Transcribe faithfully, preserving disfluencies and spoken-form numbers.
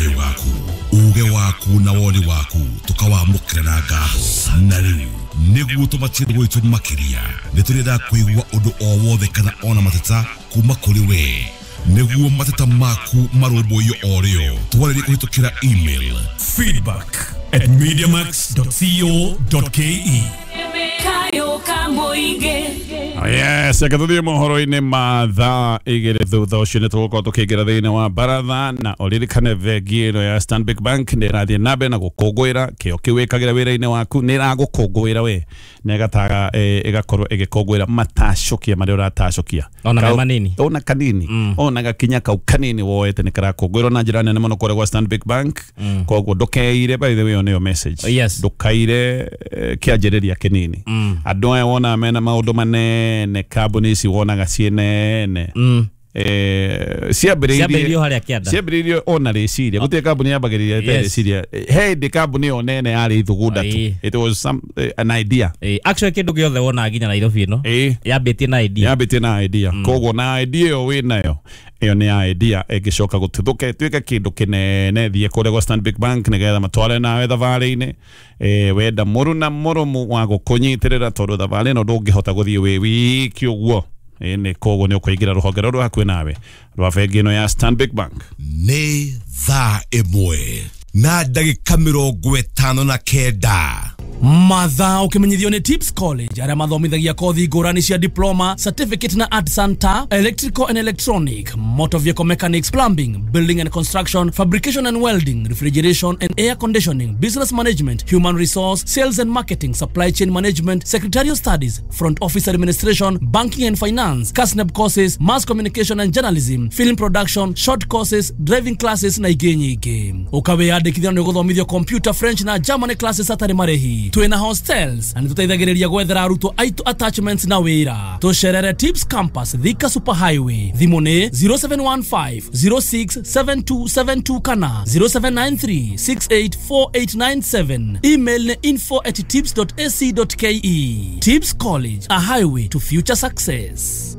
Kayũ gaku, uge waku na woni waku tukawamũkĩra na ngatho. Na rĩu nĩguo tũmatie gwitũ makĩria, nĩ tũrenda kũigua ũndũ o wothe kana ona mateta kuma kũrĩ we. Nĩguo mateta maku marũmbũiyo o rĩo, twarĩrie kũhĩtũkĩra email feedback at mediamax dot co dot ke. Yes, akathuthie mohoro-inĩ ma thaa igĩrĩ thutha ũcio nĩ tũgũkorwo tũkĩingĩra thĩinĩ wa baratha. Na ũririkane bengi ĩno ya Stanbic Bank nĩ ĩrathiĩ na mbere na gũkũngũĩra kĩo kĩu wĩkagĩra wĩra-inĩ waku, nĩ ĩragũkũngũĩra we na ĩgataga ĩgakorwo ĩgĩkũngũĩra matacũkia marĩa ũratacũkia ona me manini ona kanini mm. Ona gakinya kau kanini woete nĩ karakũngũĩrwo na njĩra nene mũno kũrĩa gwa Stanbic Bank. mm. Koguo ndũkeire, by the way, nĩyo message. Yes. Ndũkaire kĩanjĩrĩria kĩnini. mm. Andũ aya wona mena maũndũ manene, kambuni ici wonaga ciĩ nene. mm. Eh, ciambĩrĩirio harĩa kĩanda, ciambĩrĩirio ona rĩciria gũtirĩ kambuni yambagĩrĩria ĩtarĩ rĩciria. He hĩndĩ kambuni ĩyo nene yarĩ ithugunda tu, it was some uh, an idea. Eh, actually kĩndũ gĩothe wonaga nginya Nairobi ĩno yambĩtie na idea, yambĩtie na idea. mm. Koguo na idea ĩyo wĩnayo, ĩyo nĩ idea ĩngĩcoka gũtuthũka ĩtuĩke kĩndũ kĩnene. Thiĩ kũrĩa gwa Stanbic Bank nĩgetha matware nawe thabarĩ-inĩ. Eh, wenda mũruna mũrũmu wa gũkũnyitĩrĩra, tondũ thabarĩ ĩno ndũngĩhota gũthiĩ wĩ wiki ũguo. Nĩ koguo nĩ ũkũingĩra rũhonge rũrũ hakuhĩ nawe rwa bengi ĩno ya Stanbic Bank. Nĩ thaa ĩmwe na ndagĩka mĩrongo ĩtano na kenda. Mathaa ũkĩmenyithio nĩ Tips College arĩa mathomithagia kothi ngũrani cia diploma, certificate na art center, electrical and electronic, motor vehicle mechanics, plumbing, building and construction, fabrication and welding, refrigeration and air conditioning, business management, human resource, sales and marketing, supply chain management, secretarial studies, front office administration, banking and finance, KASNEB courses, mass communication and journalism, film production, short courses, driving classes na ingĩ nyingĩ. Ũkawĩyandĩkithia nĩ ũgũthomithio computer, French na German classes hatarĩ marĩhi. Twina hostels na nĩtũteithagĩrĩria gwethera arutwo aitũ attachments na wĩra. Tũcerere Tips Campus, Thika Super Highway. Thimũ nĩ zero seven one five zero six seven two seven two kana zero seven nine three six eight four eight nine seven. Email nĩ info at tips dot a c dot k e. Tips College, a highway to future success.